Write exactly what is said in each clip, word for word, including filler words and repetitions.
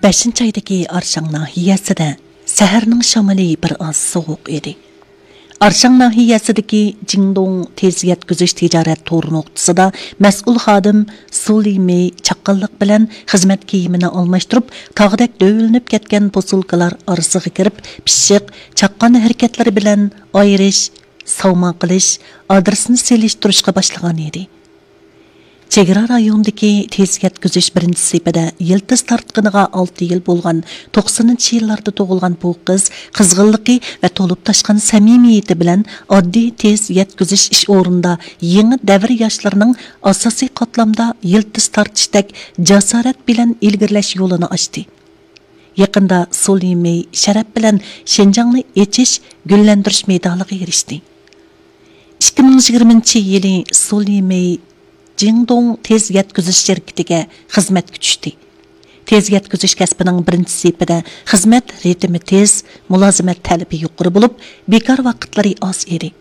بەشىنچى ئايدىكى ئارشاڭ ناھىيەسىدە سەھەرنىڭ شامىلى بىر ئاز سوغۇق ئىدى. ئارشاڭ ناھىيەسىدىكى جىڭدوڭ تېز يەتكۈزۈش تىجارەت تور نۇقتىسىدا مەسئۇل خادىم سۇ لىمېي چاققانلىق بىلەن خىزمەت كىيىمىنى ئالماشتۇرۇپ، تاغدەك دۆۋىلىنىپ كەتكەن پوسۇلكىلار ئارىسىغا كىرىپ، پىششىق، چاققان ھەرىكەتلىرى بىلەن ئايرىش، ساۋما قىلىش، ئادرېسنى سېلىشتۇرۇشقا باشلىغان ئىدى. چېگرا رايونىدىكى تېز يەتكۈزۈش بىرىنچى سېپىدە يىلتىز تارتقىنىغا ئالتە يىل بولغان توقسىنىنچى يىللاردا تۇغۇلغان بۇ قىز قىزغىنلىقى ۋە تولۇپ تاشقان سەمىمىيىتى بىلەن ئاددىي تېز يەتكۈزۈش ئىش ئورنىدا يېڭى دەۋر ياشلىرىنىڭ ئاساسىي قاتلامدا يىلتىز تارتىشتەك جاسارەت بىلەن ئىلگىرىلەش يولىنى ئاچتى. يېقىندا سۇ لىمېي شەرەپ بىلەن شىنجاڭنى ئېچىش، گۈللەندۈرۈش مېدالىغا ئېرىشتى. ئىككى مىڭ يىگىرمىنچى يىلى سۇ لىمېي جىڭدوڭ تېز يەتكۈزۈش شىركىتىگە خىزمەتكە چۈشتى. تېز يەتكۈزۈش كەسپىنىڭ بىرىنچى سېپىدە خىزمەت رىتىمى تېز، مۇلازىمەت تەلىپى يۇقىرى بولۇپ، بىكار ۋاقىتلىرى ئاز ئىدى.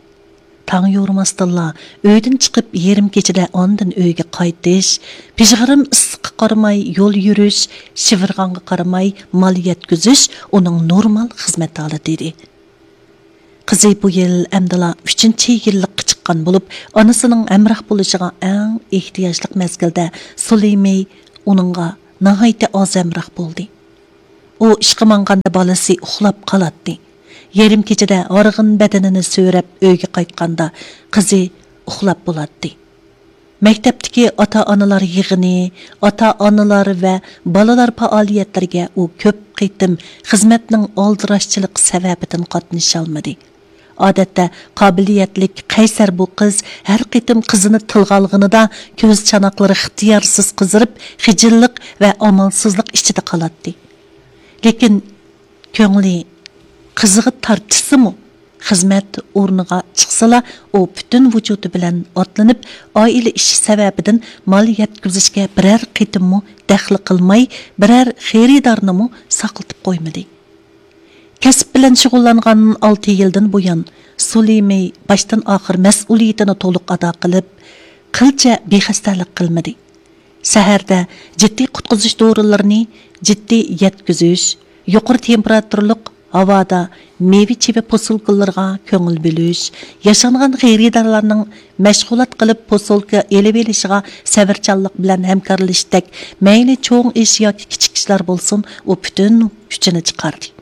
تاڭ يورۇماستىنلا ئۆيدىن چىقىپ، يېرىم كېچىدە ئاندىن ئۆيگە قايتىش، پىژغىرىم ئىسسىققا قارىماي يول يۈرۈش، شىۋىرغانغا قارىماي مال يەتكۈزۈش ئۇنىڭ نورمال خىزمەت ھالىتى ئىدى. قىزى بۇ يىل ئەمدىلا ئۈچىنچى يىللىققا چىققان بولۇپ، ئانىسىنىڭ ھەمراھ بولۇشىغا ئەڭ ئېھتىياجلىق مەزگىلدە سۇ لىمېي ئۇنىڭغا ناھايىتى ئاز ھەمراھ بولدى. ئۇ ئىشقا ماڭغاندا بالىسى ئۇخلاپ قالاتتى. يېرىم كېچىدە ھارغىن بەدىنىنى سۆرەپ ئۆيگە قايتقاندا قىزى ئۇخلاپ بولاتتى. مەكتەپتىكى ئاتا-ئانىلار يىغىنى، ئاتا-ئانىلار ۋە بالىلار پائالىيەتلىرىگە ئۇ كۆپ قېتىم خىزمەتنىڭ ئالدىراشچىلىقى سەۋەبىدىن قاتنىشالمىدى. ئادەتتە قابىلىيەتلىك، قەيسەر بۇ قىز ھەر قېتىم قىزىنى تىلغا ئالغىنىدا كۆز چاناقلىرى ئىختىيارسىز قىزىرىپ، خىجىللىق ۋە ئامالسىزلىق ئىچىدە قالاتتى. لېكىن كۆڭلى قىزىغا تارتىشسىمۇ، خىزمەت ئورنىغا چىقسىلا، ئۇ پۈتۈن ۋۇجۇدى بىلەن ئاتلىنىپ، ئائىلە ئىشى سەۋەبىدىن مال يەتكۈزۈشكە بىرەر قېتىممۇ دەخلى قىلماي، بىرەر خېرىدارنىمۇ ساقلىتىپ قويمىدى. كەسىپ بىلەن شۇغۇللانغان ئالتە يىلدىن بۇيان، سۇ لىمېي باشتىن ئاخىر مەسئۇلىيىتىنى تولۇق ئادا قىلىپ، قىلچە بىخەستەلىك قىلمىدى. شەھەردە جىددىي قۇتقۇزۇش دورىلىرىنى جىددىي يەتكۈزۈش، يۇقىرى تېمپېراتۇرىلىق ھاۋادا مېۋە-چېۋە پوسۇلكىلىرىغا كۆڭۈل بۆلۈش، ياشانغان خېرىدارلارنىڭ مەشغۇلات قىلىپ پوسۇلكا ئېلىۋېلىشىغا سەۋرچانلىق بىلەن ھەمكارلىشىشتەك مەيلى چوڭ ئىش ياكى كىچىك ئىشلار بولسۇن، ئۇ پۈتۈن كۈچىنى چىقاردى.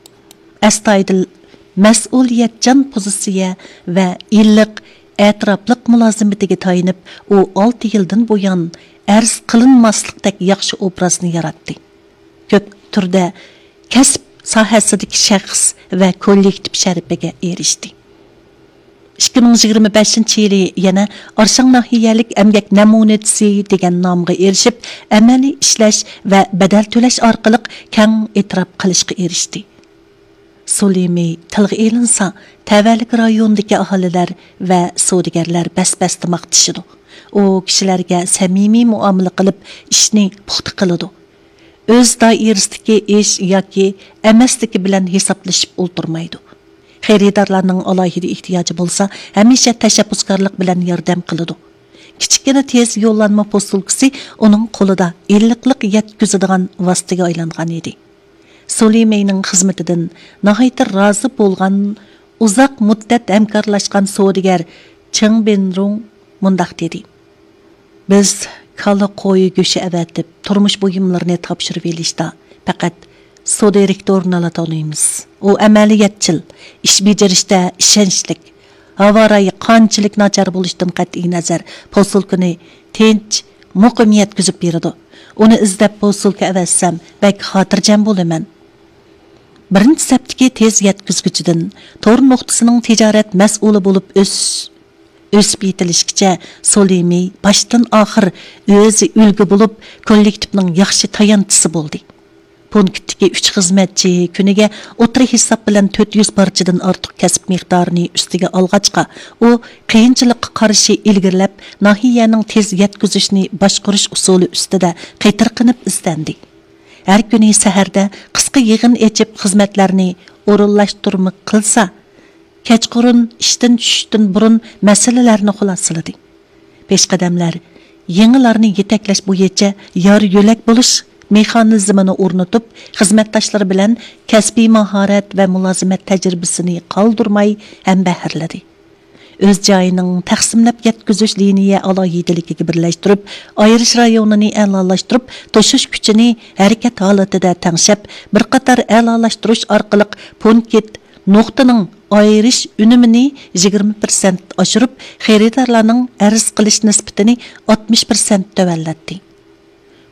ئەستايىدىل، مەسئۇلىيەتچان پوزىتسىيە ۋە ئىللىق، ئەتراپلىق مۇلازىمىتىگە تايىنىپ، ئۇ ئالتە يىلدىن بۇيان ئەرز قىلىنماسلىقتەك ياخشى ئوبرازنى ياراتتى. كۆپ تۈردە كەسىپ ساھەسىدىكى شەخس ۋە كوللېكتىپ شەرىپىگە ئېرىشتى. ئىككى مىڭ يىگىرمە بەشىنچى يىلى يەنە ئارشاڭ ناھىيەلىك ئەمگەك نەمۇنىچىسى دېگەن نامغا ئېرىشىپ، ئەمەلىي ئىشلەش ۋە بەدەل تۆلەش ئارقىلىق كەڭ ئېتىراپ قىلىشقا ئېرىشتى. سۇ لىمېي تىلغا ئېلىنسا، تەۋەلىك رايونىدىكى ئاھالىلەر ۋە سودىگەرلەر بەس-بەستە ماختىشىدۇ. ئۇ كىشىلەرگە سەمىمىي مۇئامىلە قىلىپ، ئىشنى پۇختا قىلىدۇ. ئۆز دائىرىسىدىكى ئىش ياكى ئەمەسلىكى بىلەن ھېسابلىشىپ ئولتۇرمايدۇ. خېرىدارلارنىڭ ئالاھىدە ئېھتىياجى بولسا، ھەمىشە تەشەببۇسكارلىق بىلەن ياردەم قىلىدۇ. كىچىككىنە تېز يوللانما پوسۇلكىسى ئۇنىڭ قولىدا ئىللىقلىق يەتكۈزىدىغان ۋاسىتىگە ئايلانغان ئىدى. سۇ لىمېينىڭ خىزمىتىدىن ناھايىتى رازى بولغان ئۇزاق مۇددەت ھەمكارلاشقان سودىگەر چېڭ بىنرۇڭ مۇنداق دېدى: «بىز كالا، قوي گۆشى ئەۋەتىپ، تۇرمۇش بۇيۇملىرىنى تاپشۇرۇۋېلىشتا پەقەت سۇ دىرېكتورىنىلا تونۇيمىز. ئۇ ئەمەلىيەتچىل، ئىش بېجىرىشتە ئىشەنچلىك، ھاۋا رايى قانچىلىك ناچار بولۇشىدىن قەتئىينەزەر، پوسۇلكىنى تىنچ، مۇقىم يەتكۈزۈپ بېرىدۇ. ئۇنى ئىزدەپ پوسۇلكا ئەۋەتسەم، بەك خاتىرجەم بولىمەن.» بىرىنچى سەپتىكى تېز يەتكۈزگۈچىدىن تور نۇقتىسىنىڭ تىجارەت مەسئۇلى بولۇپ ئۆس-، ئۆسۈپ يېتىلىشكىچە سۇ لىمېي باشتىن ئاخىر ئۆزى ئۈلگە بولۇپ، كوللېكتىپنىڭ ياخشى تايانچىسى بولدى. پونكىتتىكى ئۈچ خىزمەتچى كۈنىگە ئوتتۇرا ھېساب بىلەن تۆت يۈز پارچىدىن ئارتۇق كەسىپ مىقدارىنى ئۈستىگە ئالغاچقا، ئۇ قىيىنچىلىققا قارشى ئىلگىرىلەپ، ناھىيەنىڭ تېز يەتكۈزۈشنى باشقۇرۇش ئۇسۇلى ئۈستىدە قېتىرقىنىپ ئىزدەندى. ھەر كۈنى سەھەردە قىسقا يىغىن ئېچىپ، خىزمەتلەرنى ئورۇنلاشتۇرما قىلسا، كەچقۇرۇن ئىشتىن چۈشۈشتىن بۇرۇن مەسىلىلەرنى خۇلاسىلىدى. پېشقەدەملەر يېڭىلارنى يېتەكلەش بويىچە يار يۆلەك بولۇش مېخانىزمىنى ئورنىتىپ، خىزمەتداشلىرى بىلەن كەسپىي ماھارەت ۋە مۇلازىمەت تەجرىبىسىنى قالدۇرماي ھەمبەھىرلىدى. ئۆز جايىنىڭ تەقسىملەپ يەتكۈزۈش لىنىيە ئالاھىدىلىكىگە بىرلەشتۈرۈپ، ئايرىش رايونىنى ئەلالاشتۇرۇپ، توشۇش كۈچىنى ھەرىكەت ھالىتىدە تەڭشەپ، بىر قاتار ئەلالاشتۇرۇش ئارقىلىق پونكىت نۇقتىنىڭ ئايرىش ئۈنۈمىنى يىگىرمە پىرسەنت ئاشۇرۇپ، خېرىدارلارنىڭ ئەرز قىلىش نىسبىتىنى ئاتمىش پىرسەنت تۆۋەنلەتتى.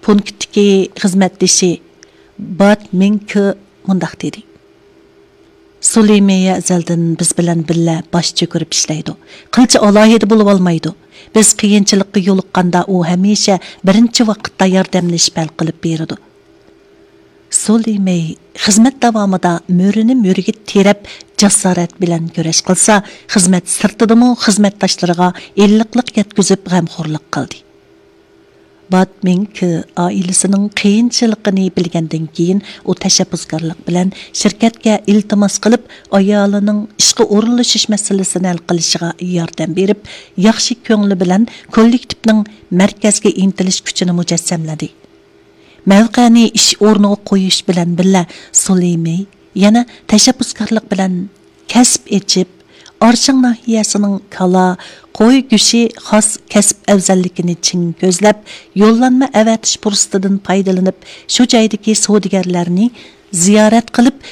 پونكىتتىكى خىزمەتدىشى بات مىڭ كې مۇنداق دېدى: سۇلى مېي ئەزەلدىن بىز بىلەن بىللە باش چۆكۈرۈپ ئىشلەيدۇ. قىلچە ئالاھىدە بولۇۋالمايدۇ. بىز قىيىنچىلىققا يولۇققاندا ئۇ ھەمىشە بىرىنچى ۋاقىتتا ياردەملىشىپ ھەل قىلىپ بېرىدۇ. سۇلى مېي خىزمەت داۋامىدا مۈرىنى مۈرىگە تىرەپ، جاسارەت بىلەن كۈرەش قىلسا، خىزمەت سىرتىدىمۇ خىزمەتداشلىرىغا ئىللىقلىق يەتكۈزۈپ غەمخورلۇق قىلدى. بات مىڭ كې ئائىلىسىنىڭ قىيىنچىلىقىنى بىلگەندىن كېيىن، ئۇ تەشەببۇسكارلىق بىلەن شىركەتكە ئىلتىماس قىلىپ، ئايالىنىڭ ئىشقا ئورۇنلىشىش مەسىلىسىنى ھەل قىلىشىغا ياردەم بېرىپ، ياخشى كۆڭلى بىلەن كوللېكتىپنىڭ مەركەزگە ئىنتىلىش كۈچىنى مۇجەسسەملىدى. مەۋقەنى ئىش ئورنىغا قويۇش بىلەن بىللە، سۇلى مېي يەنە تەشەببۇسكارلىق بىلەن كەسىپ ئېچىپ، ئارشاڭ ناھىيەسىنىڭ كالا، قوي گۆشى خاس كەسىپ ئەۋزەللىكىنى چىڭ كۆزلەپ، يوللانما ئەۋەتىش پۇرسىتىدىن پايدىلىنىپ، شۇ جايدىكى سودىگەرلەرنى زىيارەت قىلىپ،